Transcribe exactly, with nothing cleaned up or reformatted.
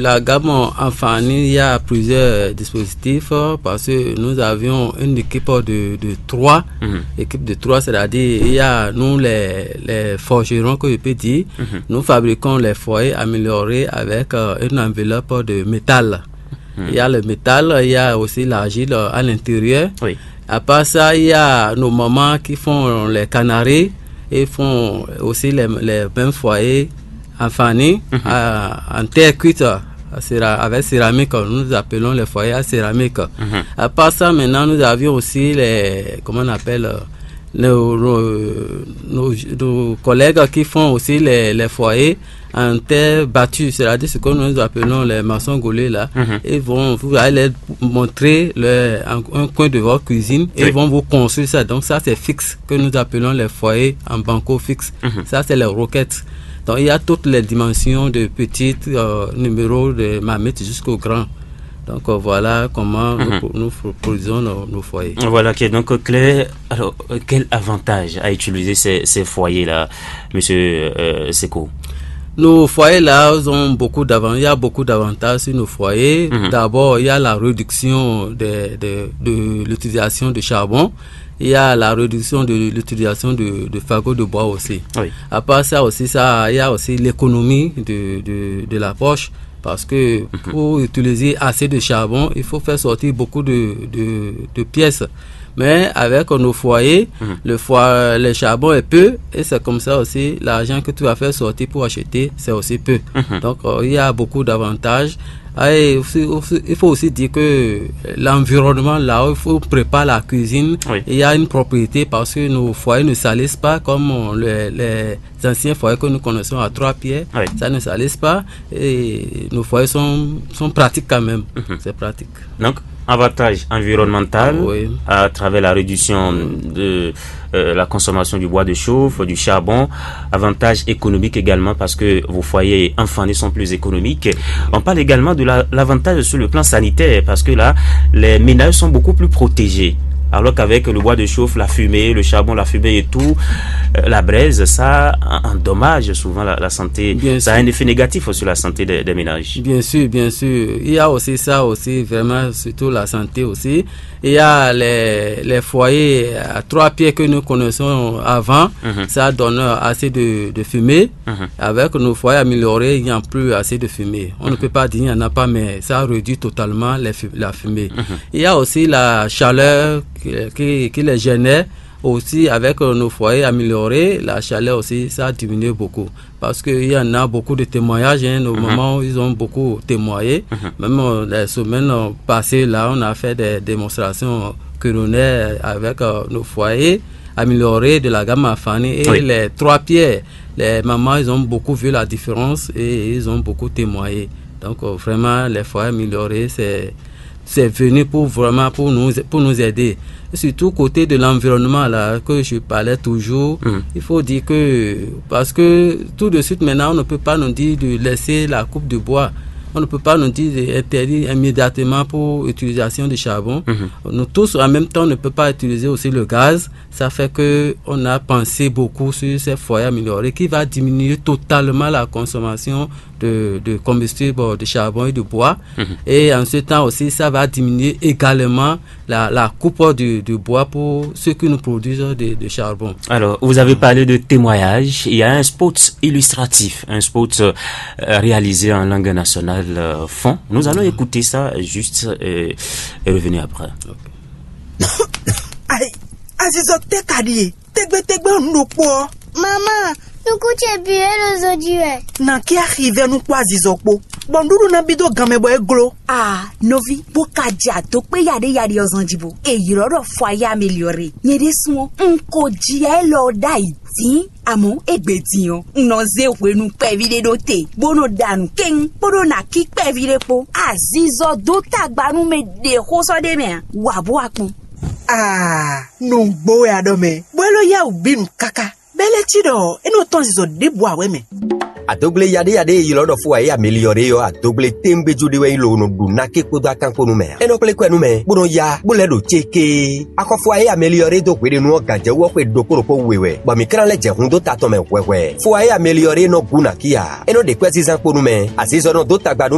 La gamme Enfani, il y a plusieurs dispositifs, parce que nous avions une équipe de, de trois. Équipe de trois, c'est-à-dire il y a nous les, les forgerons, que je peux dire. Nous fabriquons les foyers améliorés avec euh, une enveloppe de métal. Il y a le métal, il y a aussi l'argile euh, à l'intérieur. Oui. À part ça, il y a nos mamans qui font les canaries et font aussi les, les mêmes foyers Enfani, euh, en terre cuite, euh, céra- avec céramique, nous appelons les foyers à céramique. À part ça, maintenant, nous avions aussi les, comment on appelle, euh, nos, nos- nos- nos collègues qui font aussi les, les foyers en terre battue, c'est-à-dire ce que nous appelons les maçons gaulés là. Ils vont vous allez montrer le- un, un coin de votre cuisine et ils vont vous construire ça. Donc ça, c'est fixe, que nous appelons les foyers en banco fixe. Ça, c'est les roquettes. Donc, il y a toutes les dimensions de petits euh, numéros de marmite jusqu'au grand. Donc, euh, voilà comment nous, nous produisons nos, nos foyers. Voilà qui est donc clair. Alors, euh, quel avantage à utiliser ces, ces foyers-là, monsieur euh, Seko? Nos foyers-là ont beaucoup d'avantages. Il y a beaucoup d'avantages sur nos foyers. D'abord, il y a la réduction des- des- de l'utilisation de charbon. Il y a la réduction de l'utilisation de, de fagots de bois aussi. Oui. À part ça aussi, ça, il y a aussi l'économie de, de, de la poche. Parce que pour utiliser assez de charbon, il faut faire sortir beaucoup de, de, de pièces. Mais avec nos foyers, le foie, le charbon est peu et c'est comme ça aussi l'argent que tu vas faire sortir pour acheter, c'est aussi peu. Donc euh, il y a beaucoup d'avantages. Ah, et aussi- aussi- il faut aussi dire que l'environnement là où il faut préparer la cuisine, il y a une propriété parce que nos foyers ne salissent pas comme euh, les, les anciens foyers que nous connaissons à trois pierres. Ça ne salisse pas et nos foyers sont, sont pratiques quand même. C'est pratique. Donc, avantage environnemental à travers la réduction de euh, la consommation du bois de chauffe, du charbon, avantage économique également parce que vos foyers enfants sont plus économiques. On parle également de la- l'avantage sur le plan sanitaire parce que là, les ménages sont beaucoup plus protégés. Alors qu'avec le bois de chauffe, la fumée, le charbon, la fumée et tout, euh, la braise, ça en- endommage souvent la, la santé. Ça a un effet négatif sur la santé des, des ménages. Bien sûr, bien sûr. Il y a aussi ça aussi, vraiment, surtout la santé aussi. Il y a les, les foyers à trois pieds que nous connaissons avant. Ça donne assez de, de fumée. Avec nos foyers améliorés, il n'y a plus assez de fumée. On ne peut pas dire qu'il n'y en a pas, mais ça réduit totalement les fu- la fumée. Il y a aussi la chaleur qui, qui- qui les génère. Aussi, avec euh, nos foyers améliorés, la chaleur aussi, ça a diminué beaucoup. Parce qu'il y en a beaucoup de témoignages. Hein. Nos mamans, ils ont beaucoup témoigné. Même euh, les semaines euh, passées, là, on a fait des démonstrations culinaires avec euh, nos foyers améliorés de la gamme Enfani. Et les trois pierres, les mamans, ils ont beaucoup vu la différence et ils ont beaucoup témoigné. Donc, euh, vraiment, les foyers améliorés, c'est c'est venu pour vraiment pour nous, pour nous aider. Et surtout côté de l'environnement là que je parlais toujours, il faut dire que, parce que tout de suite maintenant, on ne peut pas nous dire de laisser la coupe de bois. On ne peut pas nous dire d'interdire immédiatement pour utilisation de charbon. Nous tous en même temps, on ne peut pas utiliser aussi le gaz. Ça fait que on a pensé beaucoup sur ces foyers améliorés qui va diminuer totalement la consommation de, de combustible, de charbon et de bois. Et en ce temps aussi, ça va diminuer également la, la coupe du, du bois pour ceux qui nous produisent de, de charbon. Alors, vous avez parlé de témoignage. Il y a un spot illustratif, un spot euh, réalisé en langue nationale euh, fond. Nous allons écouter ça juste euh, et revenir après. Ayi, azizɔ tɛ ka ɖi e? Tegbetegbe ɔ́, nǔ ɖokpó ɔ́. Mama, nukún ce bǐ é ɖo zɔn jí wɛ. Nǎ ké axivɛ́ nú kpó azizɔ kpó, bɔ nǔɖuɖu ná bí dó ganmɛ bɔ é gló. A nɔví, bó ka jɛ àdó kpé yaɖéyaɖé ɔ́ zɔn jí bó. È ylɔ́ ɖɔ fɔ ayé ameliɔre. Nyɛ ɖésú ɔ́, un ko jia élɔ́ ɔ́ ɖ'ayǐ dín. Àmọ́ égbé din ɔ́, un nɔ zé hwenu kpɛví ɖé ɖó te, bó nɔ ɖa nǔ kéŋ, bó ɖó ná cí kpɛví ɖé kpó. Azizɔ dó tagba nú mɛ ɖě xó sɔ́ ɖ'é mɛ ǎ. Wǎ bó wá kpɔ́n. Aa, nǔgbó wɛ a ɖɔ mɛ, bó é ló yá wǔ bí nǔ káká. Bɛ́ lɛ́ cí ɖɔ é nɔ tɔ́n zizɔ ɖěbǔ ǎ wɛ mɛ. Adógblé yaɖéyaɖé e ylɔ́ ɖɔ fó ǎ é ameliɔ́ɖé ɔ́, adógblé téńgbéjú ɖé wɛ nyí lobo nɔ ɖu náké kpódó akán kpó nú mɛ ǎ. É nɔ kplé kwɛ nú mɛ, bó nɔ ya, bó lɛ́ ɖo céké. Axɔfó ǎ é ameliɔ́ɖé dó hweɖénu ɔ́ gǎnjɛwú ɔ́ xwe ɖokpó ɖokpó we wɛ, bɔ mǐ klán lɛ́ jɛ hun dó ta tɔn mɛ hwɛhwɛ. Fó ǎ é ameliɔ́ɖé nɔ gú nǎkí ǎ. É nɔ ɖe kwɛ́zínzán kpó nú mɛ, azinzɔnnɔ dó tagba nú